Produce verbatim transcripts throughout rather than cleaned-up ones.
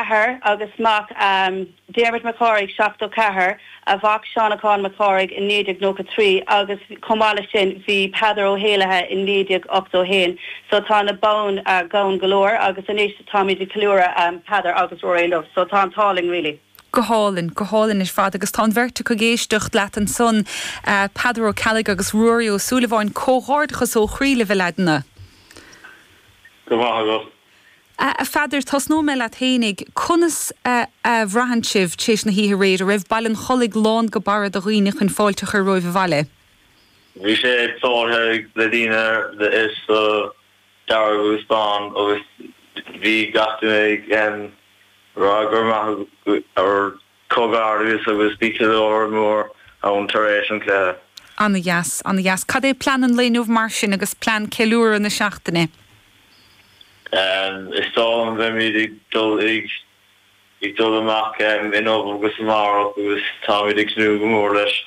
athair agus mac um, Dermot Mac Cárthaigh seachtó ceathair a mhac Seanachán Mac Cárthaigh in naoi déag nócha trí agus chomh maith leis sin bhí Peadar Ó hÉalaithe in naoi déag ochtó haon. So tá na bonn uh, gann go leor agus anois táimid ag ceiliúradh um, Peadar agus Rory Love, so tá an t-ádh linn really. Go hálainn, go hálainn ar fad agus tá an bheirt acu ag éisteacht leat ansan uh, Peadar Ó Ceallaigh agus Ruairí Ó Súilleabháin comhghairdeachas ó chroí libh a leaideanna. Go maith agat. A Pheadair tosnóidh mé leat fhéinig conas a bhraitheann sibh théis na hoíche aréir a raibh Baile an Chollaigh lán go barra de dhaoine chun fáilte a chur romhaibh abhaile. Bhí sé plódaithe le daoine is dearg agus bán agus bhí gach duine rá gur maith ar comhghairdeas agus bhí ceiliúradh mór ann tar éis an chluiche. Ana dheas ana dheas. Cad é plean an lae inniu mar sin agus plean ceiliúradh na seachtaine? Is dóigh liom beimid ag dul ag ag dul amach inniu agus amárach agus táimid ag tnúth go mór leis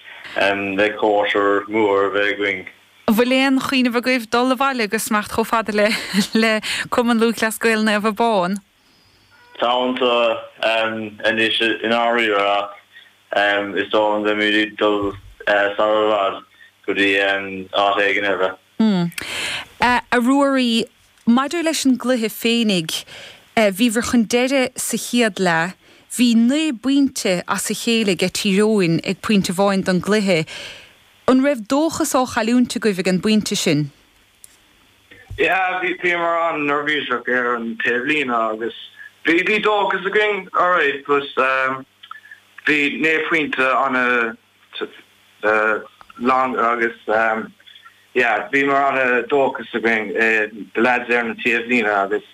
le cóisir mór bheith againn. Bhfuil aon chuimhneamh agaibh dul abhaile agus imeacht chomh fada le le Cumann Lúthchleas Gael Naomh Abán? Tá anois in áirithe ach is dóigh liom beimid dul sar i bhfad go dtí áit éigin eile. Hmm. A Ruairí maidir leis an gcluiche féinig, bhíobhair chun deireadh sa chéad leath, bhí naoi bpointe as a chéile ag Tír Eoghain ag pointe amháin don gcluiche. An raibh dóchas á chailliúint agaibh ag an bpointe sin? Yeah, bhí bhíomar an-neirbhíseach ar an taobhlíne agus bhí bhí dóchas againn alright but um, bhí naoi bpointe an uh, long agus um, yeah, bhíomar an-dóchas againn uh, the lads ar na taobhlíne agus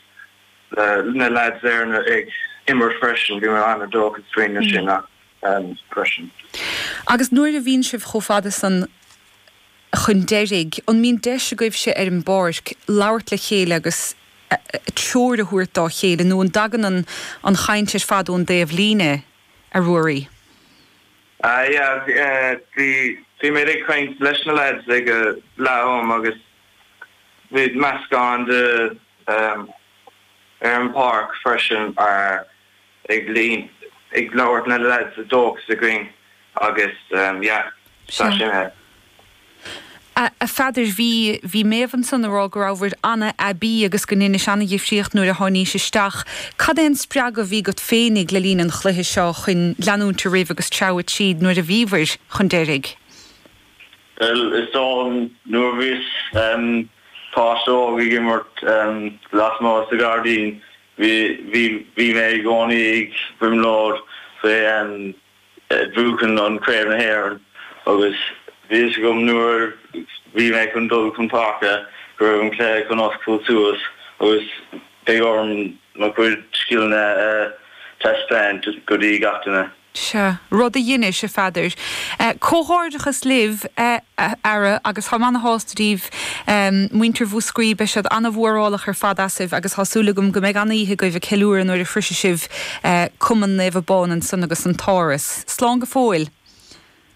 uh, na lads ar na ag imirt freisin bhíomar an-dóchas faoin mm. sin um, freisin. Agus nuair a bhíonn sibh chomh fada san chun deiridh, an mbíonn deis agaibhse ar an bpáirc labhairt le chéile agus treoir a thabhairt dá chéile nó an dtagann an an chaint ar fad ón dtaobhlíne a Ruairí. Uh, yeah, uh, bhí bhí mé ag caint leis na lads ag uh, leath am agus bhí meascán de um, ar an páirc freisin ar ag líon ag labhairt na lads a dóchas againn agus um, yeah, tá sin é. A Pheadair bhí bhí Méabh ansan ag rá go raibh an-aibí agus go ndearna sí an-difríocht nuair a tháinig sí isteach. Cad é an spreagadh a bhí agat féinig le linn an chluiche seo chun leanúint ar aghaidh agus treabhadh tríd nuair a bhíobhair chun deiridh. Well is dóigh nuair bhíos um, páiste óg ag imirt um, lasmuigh sa ghairdín bhí bhí bhí mé i gcónaí ag brionglóid faoi um, buachan an Craobh na hÉireann agus bhí agam nuair bhí mé chun dul chun páirce go raibh an cluiche chun oscailt suas agus beidh orm mo chuid scileanna uh, taispeáint go dtí gach duine. Sea, rud a dhein sibh a Pheadair. Comhghairdeachas libh ara agus tá an-shásta daoibh muintir Mhúscraí beidh siad an-mhórálach ar fad asaibh agus tá súil agam go mbeidh an-oíche agaibh ag ceiliúradh nuair a shroisfidh sibh Cumann Naomh Abán ansan agus an tÁras. Slán go fóill.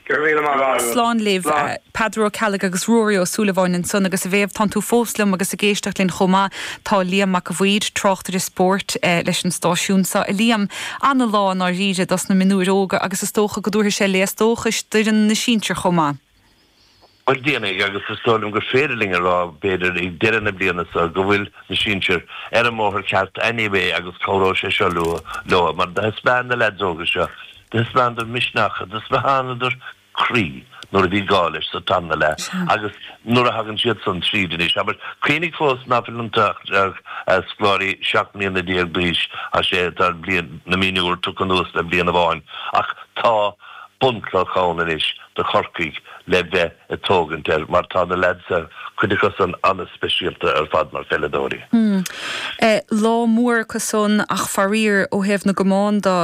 Slán libh Peadar Ó Ceallaigh agus Ruairí Ó Súilleabháin ansan agus a Mhéabh tá tú fós liom agus ag éisteacht linn chomh maith tá Liam Mac a' Bhaoir tráchtaire spóirt leis an stáisiún seo a Liam an-lá dáiríre dos na mionúir óga agus is dócha go dtabharfaidh sé léas dóchais d'fhoireann na sinsear chomh maith. Well déanaigh agus is dóigh liom gur féidir linn a rá b'fhéidir ag deireadh na bliana seo go bhfuil na sinsir ar an mbóthar ceart anyway agus cabhróidh sé seo leo leo mar thaispeáin na lads óga seo thaispeánadar misneach thaispeánadar croí nuair a bhí gá leis sa tarna leath agus nuair a thagann siad san tríd anois aber cuimhnigh fós nach bhfuil an scoláirí seacht mbliana déag d'aois a sé tá bliain na mionúr tugtha anuas le bliain amháin ach tá bunchloch ann anois do Chorcaigh le bheith ag tógaint air mar tá na lads cuid acu san an-speisialta ar fad mar pheileadóirí. Hmm. Eh, lá mór acusan ach faraor ó thaobh na gcamán de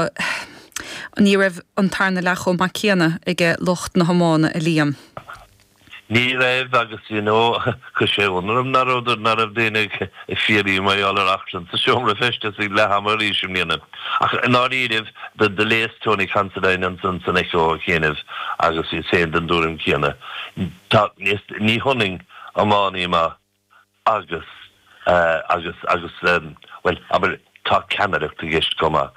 ní raibh an tarna leath chomh maith céanna ag lucht na hiomána a Liam. Ní raibh agus you know chuir sé ionadh orm nach raibh daoine ag fiafraí mar gheall ar achrann sa seomra feistis ag leath ama arís i mbliana. Ach dáiríribh do do léas Tony Considine ansan san Echo a chéanamh agus í féin den dtuairim céanna. Tá ní hionann iománaí maith agus uh, agus agus um, well aber tá ceannaireacht i gceist chomh maith.